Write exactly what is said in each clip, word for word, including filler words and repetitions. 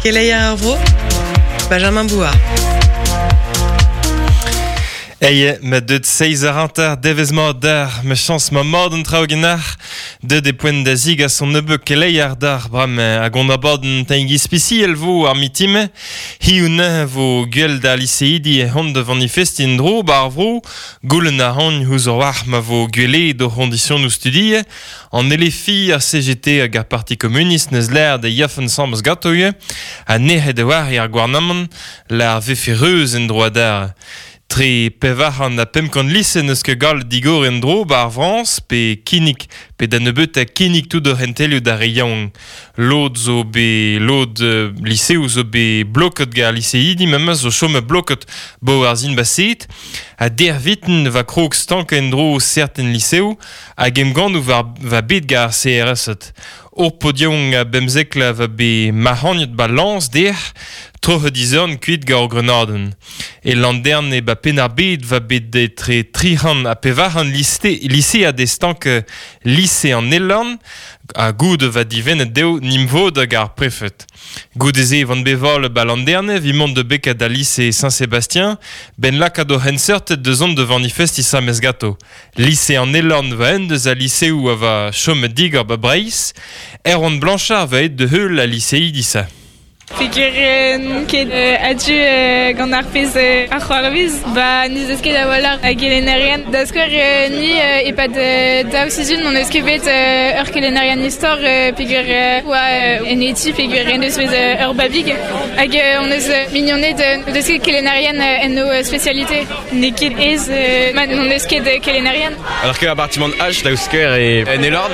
Keleier ar vro, Benjamin Bouard. Eye, ma deut seiz ar hanter devez mat d'ar, ma chans ma mat an traoù genar, deut e poent da zig a son nebeut keleier d'ar bram hag on abadenn taigi spesiel vo ar mitime, hi un vo gwell da liseidi e hont de manifesti en dro bar vro, goulenn a han ouzh ur war ma vo gwele do c'hondisionoù studie, an elefi ar C G T hag ar Parti Communist neus l'air da yafen samez gato ue, ha nec'het e war ar gouarnamant l'ar vefe reuz en dro d'ar. Tre pevar an a pemp kant lise neus ket gall digor en dro bar Frañs pe kinnig pe da nebeut a kinnig tout ur hentelioù d'ar re yaouank. Lod zo be lod euh, liseoù zo be bloket gar liseidi memes zo chom bloket bo ar zin baset a der viten va krog stank en dro certen liseoù hag emgannoù va, va bet gar C R S-et. Ur podion a bemzekla va be mahagnet ba lañs der troc'het dizorn kuit gar ur grenadenn. E landern e ba penn ar bed va bet etre tric'hant ha pevarc'hant liste, lise a destank lise an Elorn ha goud va divennet dezho nimvod hag ar prefet. Goude-se van beval ba landerne vi mont de beka da lise Saint-Sébastien ben lakaat o henseurtet deus ont de manifesti sa mesgato. Lise an Elorn va en deus a liseoù a va chom digor ba Breizh, Erwan Blanchard va et de heul a liseidi sa. Peogwir n'on ket a-du gant ar pezh ar c'hoarvez, ba n'eus eus ket a-walc'h a gelennerien. Da skouer ni e-pad daou sizhun n'on eus ket bet ur kelennerien istor peogwir oa en eti peogwir en deus bet ur babig. Hag on eus mignoned deus ket kelennerien en o spécialité. N'eo ket ez ma n'on eus ket kelennerien. Alors que appartement H da skouer e en Elorn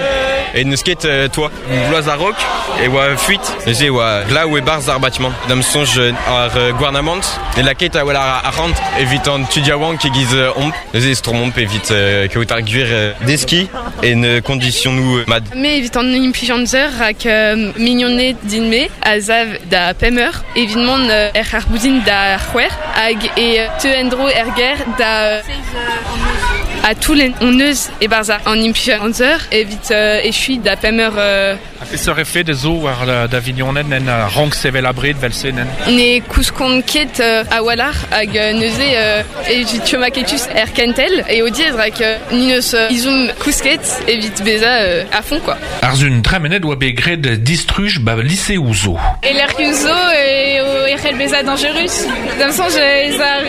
e n'eus ket toi bloaz a raok e oa fuit. Neuze oa glaou e barz ar bâtiment. Dam sonj ar gouarnamant e laket a wel ar arc'hant evit an tud yaouank e giz omp. Neuze e stormomp evit kaout ar gwir deski en kondisionoù mad. Me evit an implijanzer hag mignoned din-me a zav da pemp eur evit mont er ar boudin da c'hwec'h hag e teu en-dro er ger da a tout on eus e barza an implijanzer evit echui da pemp eur. A peseurt efed zo war da vignonen en rank sevel abred vel se nen? Ne kouskont ket a walc'h hag neuze evit chom aketus er kentel e o diez rak ni neus izom kousket evit beza a fond quoi. Arzun tremenet oa bet graet distruj ba lise ouzo. E lec'hioù zo e o ec'hell beza dangerus. Dam soñj ez ar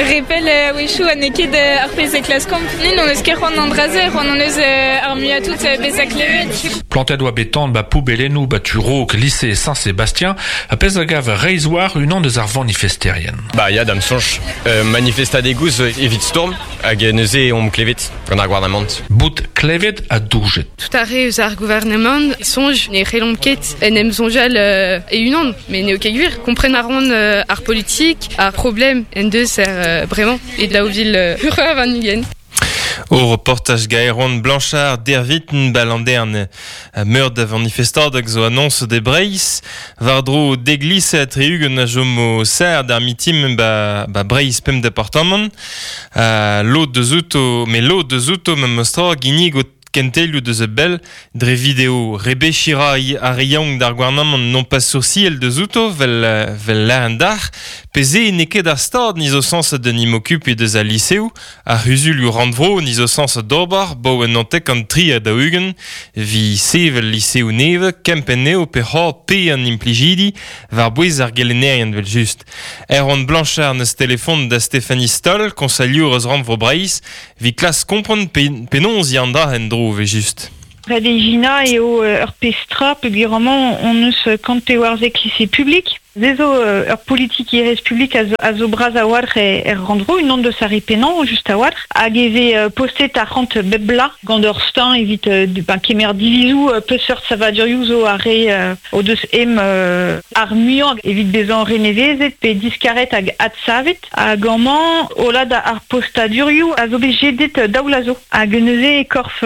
repel a-wechoù ha n'eo ket ar pezh e klaskomp. Ni n'on eus ket c'hoant an draze, c'hoant on eus ar muiañ tout beza klevet. Plantet oa bet tan ba poubellennoù ba tu raok lycée Saint-Sébastien a pezh a gav reizh war unan deus ar vanifesterien. Ba ya dam soñj euh, manifestadegoù zo evit storm hag neuze omp klevet gant ar gouarnamant. Bout klevet ha doujet. Tout ar re eus ar gouarnamant soñj ne c'hellomp ket en em soñjal euh, e unan, mais n'eo ket gwir. Kompren a ran euh, ar politik, ar problem en deus er euh, bremañ e daou vil euh, ur an ugent. Au reportage Gaëron Blanchard derviten balandern meur da manifestadeg zo annonce de Breizh war dro deglise a triugen a jomo ser d'ar mitim ba, ba Breizh pemp departamant uh, lod deus outo me lod deus outo me mostra ginnig o kentelioù deus a bell dre video rebechira ar re yaouank d'ar gouarnamant non pas sourciel deus outo vel, vel lâren d'ar peze n'eo ket ar stad niz o sañs da n'im okupe deus al liseoù ar c'huzulioù rannvro niz o sañs d'ober bo en antek an tri ha daou-ugent vi sevel liseoù neve kempenn eo pe c'hor pe an implijidi war bouez ar gelennerien vel just. Erwan Blanchard neus telefon da Stéphanie Stoll, konsaliour eus rannvro Breizh, vi klas kompren pe, penaos y an dra en dro ve just. Red e gina eo ur pestra peogwir amañ on eus kant pevarzek lycée public. Ze zo ur politikerezh publik a zo, a zo bras a-walc'h e, er rannvro, unan deus ar re pennañ just a-walc'h, hag e vez postet arc'hant bep bla gant ur steuñv evit ben, kemer divizoù peseurt savadurioù zo ar re o deus em ar muiañ evit bezañ renevezet pe diskaret hag adsavet. Hag amañ hollad ar postadurioù a zo bet jedet daou la zo. Hag neuze e korf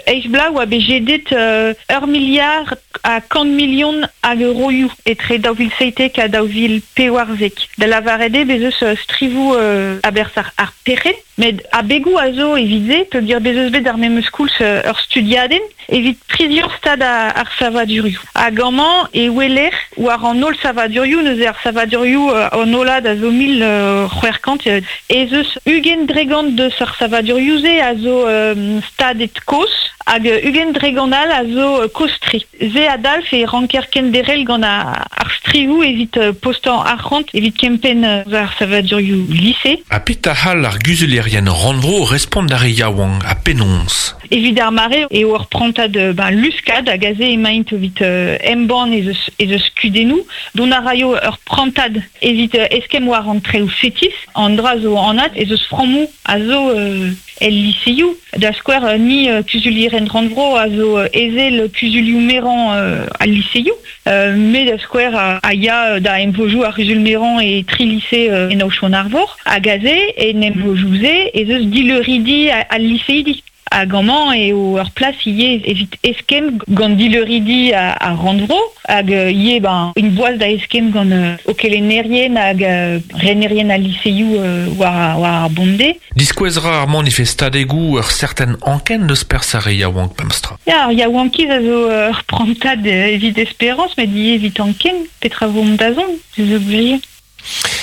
eizh bla oa bet jedet ur miliard a kant milion hag euroioù etre daou vil seitek ha daou vil pevarzek. Da lavaret eo bez eus strivoù euh, aberzh ar, ar perc'henn, met abegoù a zo evit se, peogwir bez eus bet ar memes koulz ur studiadenn evit priziañ stad ar savadurioù. Hag amañ e weler war an holl savadurioù, neuze ar savadurioù an hollad a zo mil c'hwec'h kant, ez eus ugent dregant deus ar savadurioù-se a zo euh, stadet kozh, hag ugent dregant all a zo kozh-tre. Se a dalv e ranker kenderc'hel gant ar strivoù evit postañ arc'hant evit kempenn ar savadurioù lise. Ha petra c'hall ar guzulerien rannvro respont d'ar re yaouank ha penaos? Evit ar mare eo ur prantad ben, luskad hag aze emaint evit euh, embann ez eus, ez eus kudennoù, dont a raio ur prantad evit eskemm war an treoù fetis, an dra zo anat ez eus frammoù a zo euh, el liseioù. Da skouer ni euh, kuzulieren rannvro a zo ezel kuzulioù merañ euh, al liseioù, euh, met da skouer a, a ya da emvojoù ar kuzul merañ e tri lise euh, en Aochon-Arvor, hag aze en emvojoù-se ez eus dileuridi al liseidi. Hag amañ eo ur plas ivez evit eskemm gant dileuridi ar rannvro, hag ivez ben, un boaz da eskemm gant euh, o kelennerien hag euh, renerien al liseioù euh, war, war ar bonde. Diskouez ra ar manifestadegoù ur certain anken deus perzh ar re yaouank memestra. Ya, ar yaouankiz a zo ur prantad evit esperañs, met ivez evit anken, petra vo mont da zont, ez eus gwir.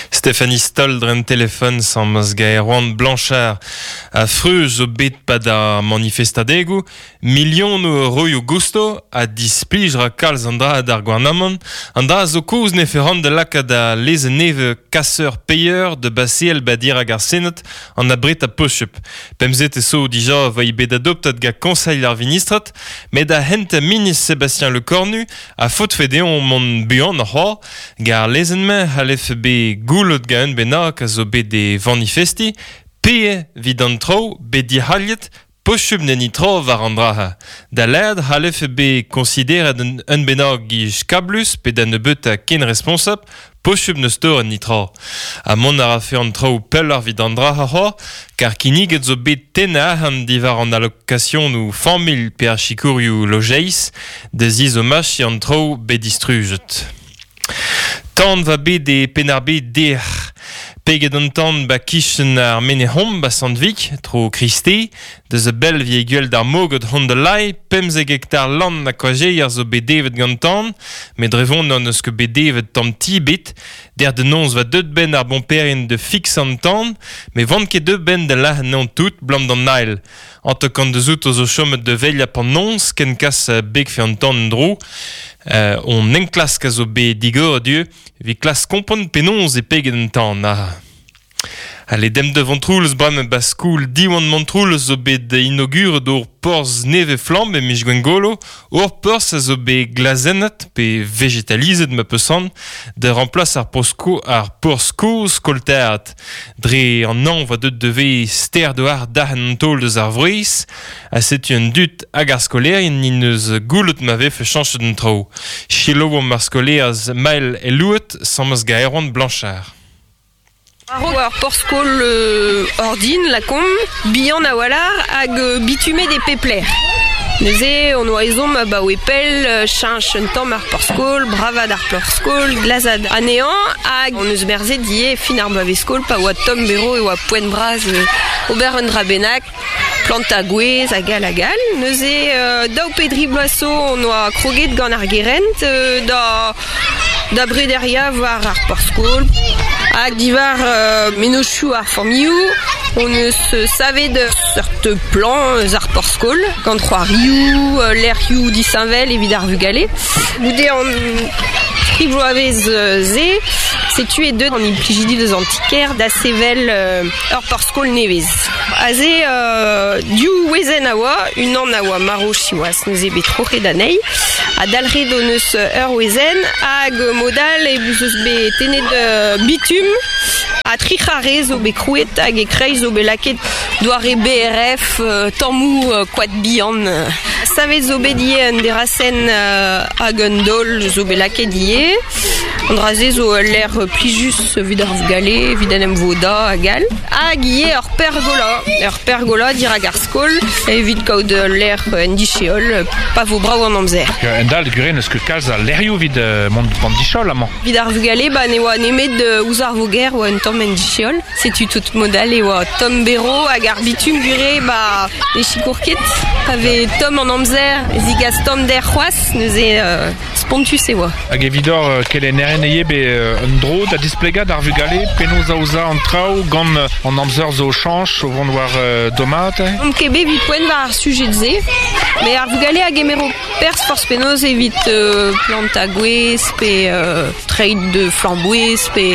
Stéphanie Stoll dre telefon sammes gant Erwan Blanchard a freuz zo bet pad ar manifestadegoù, milionoù euroioù gousto a displij ra kalz an dra d'ar gouarnamant, an dra zo koz ne ferant de lakaat a lezenn nevez casseur payeur de baseal badir hag ar Senat an abret a pochup. Pemzet e so dija va i bet adoptat ga Conseil ar Vinistrat, met a hent ministr Sébastien Lecornu a faot fedeon mont buan ar c'hoar, gar lezenn-mañ c'hallef be goulot ga un bennak a zo bet e vanifesti, pe vid an traoù bet dic'halliet pochub n'en itro war an draha. Da lerd c'hallef be konsideret un, un bennak gij kablus pe da nebeut a ken responsab, pochub neus tor en nitra. Ha mont a rafe an traoù pelloc'h vid an draha c'hoar, kar kinniget zo bet tennañ arc'hant diwar an allokasionoù familh pe ar sikourioù lojeiz, da zizomachiñ an traoù bet distrujet. Tan va bet e Penn-ar-Bed dec'h. Peget an tan ba kichen ar Menehom ba Sant-Vig, tro Kriste, deus a bell vie gwell d'ar moged hon de lai, pemzek hektar land a koajeier zo bet devet gant tan, met drevon an eus ket bet devet tamm ti bet, der de nonz va deut ben ar bomperien de fix an tan, met vant ket deut ben de lac'h an tout blam d'an nail. An te kant deus out zo chomet de veilh a pan nonz, ken kas beg fe an tan dro, euh, on enklask a zo bet digor dieu, vi klas kompon penonz e peget an tan. Ah. Allez, dem de Vontroulez bremañ ba skoul Diwan Montroulez zo bet inauguret ur porzh nevez flamm e miz Gwengolo, ur porzh a zo bet glazennet pe vegetalizet ma peus de remplas ar porzh ar porzh kozh kolteat. Dre an anv a deut devez ster doar dac'hen an taol deus ar vreiz, a setu un dud hag ar skolaerien n'int eus goulet ma vefe chañchet an traoù. Selaouomp ar skolaerez Maël Elouet, sammes gant Erwan Blanchard. Ar porzh-skol euh, ordin, la kom, bihan a walar hag euh, bitume des pepler. Neuze, on oa ezhomm abaoe pell, cheñch un tamm ar porzh-skol, bravad ar porzh-skol, glazad anezhañ, hag on eus merzet ivez fin ar bloavezh-skol pa oa tomm bero e oa poent bras euh, ober un dra bennak, planta gwez hag all hag all. Neuze, euh, daou pe dri bloaz zo on oa kroget gant ar gerent euh, da, da brederia war ar porzh-skol. Hag diwar euh, mennozhioù ar familhoù, on eus savet seurt plan eus ar porzh-skol, gant c'hoarioù, lec'hioù disheñvel evit ar vugale. Goude an tri bloavezh se, setu e deut an implijidi deus an ti-kêr da sevel euh, ur porzh-skol nevez. Aze euh, div wezenn a oa, unan a oa marv siwazh, neuze bet troc'het anezhi, ha dalc'het hon eus ur wezenn hag modal e eus bet tennet euh, bitum, ha tri c'harre zo bet krouet hag e kreiz zo bet lakaet doare B R F, euh, tammoù euh, koad bihan. Savet zo bet ie un derasen euh, hag un dol zo bet laket ie. An draze zo l'air plijus vid ar vugale, vid an em voda hag all. Hag ie ur pergola, ur pergola dirag ar skol, evit kaout l'air en dicheol, pa vo brao an amzer. En dal gure neus ket kalz a lerioù vid mont bant dichol amañ. Vid ar vugale, ba ne oa nemet ouzh ar voger oa un tamm en dicheol. Setu tout modal e oa tomm bero hag ar bitum gure ba e chikour ket. Pa vez tomm an amzer, zigas tomm der c'hoaz, neuze euh, spontus e oa. Hag evidor kelennerien eo be un dro da displegad ar vugale penaos aoza an traoù gant an amzer zo chañch o vont war euh, domat. On ket bet evit poent war ar sujet ze, mais ar vugale a gemero pers forz penaos evit euh, plant a gwez, pe euh, treid de flamboez, pe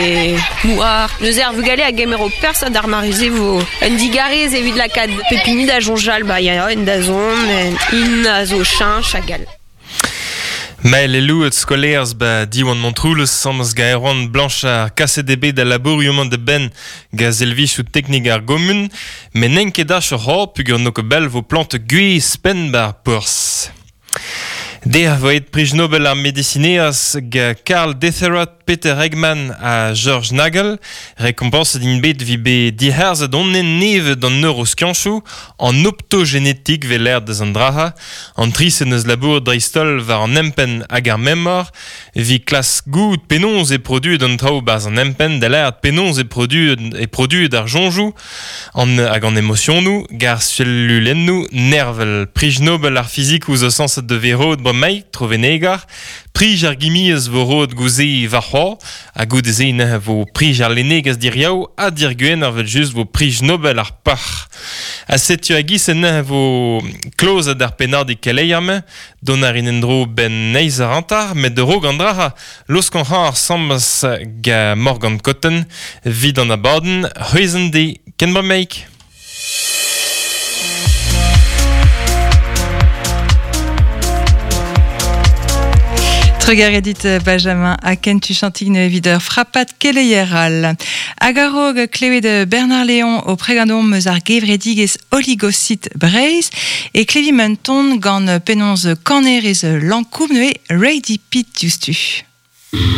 mouar. Neuze ar vugale a gemero pers ad ar marize vo un digarez evit lakad pepini da jonjal, ba ya en da zon, en in a zo chañch hag all. Mael elouet skolaerz ba Diwan Montroulez samez gaeron Blanchard kaset eo bet da labourioù de ben ga zelvichoù teknik ar gomun, met n'en ket ach ur c'hor pugur n'o ket bell vo plant gwez penn bar porzh. Der vo et prij Nobel ar medicineaz ga Karl Deisseroth, Peter Eggman ha George Nagel, rekompanset int bet vi be diherzet onnen neve d'an neuroskianchoù, an optogénétik ve l'air deus an draha, an trisen eus labour dreistol war an empenn hag ar memor, vi klas gout penaos e produet an traoù barz an empenn, da l'air penaos e produet, e produet ar jonjoù, an, hag an emotionoù, gar cellulennoù nervel. Prij Nobel ar fizik ouzh o sañset de verod bremaik, trovenegar, prij ar gimiez vo rod gouze war c'hoar, ha goude-se neuze vo prij ar lennegezh diriaou ha dirguen ar vel just vo prij Nobel ar pac'h. Ha setu a-giz neuze vo klozet ar pennadig keleier-mañ, dont ar in en-dro ben neizh ar antar, met de rog an draha, laosk an c'hañ ar sambas ga Morgan Cotton, vid an abadenn, c'hwezhen de ken bremaik. Trugar edit Benjamin a kentu chantign evit ur frappat keleier all. Hag a-raok klevet Bernard Léon o pregadomp eus ar gevredigezh Oligocyte Breizh e klevi menton gant penaos kanerez Lankoum neuze Ready Pit diouzhtu.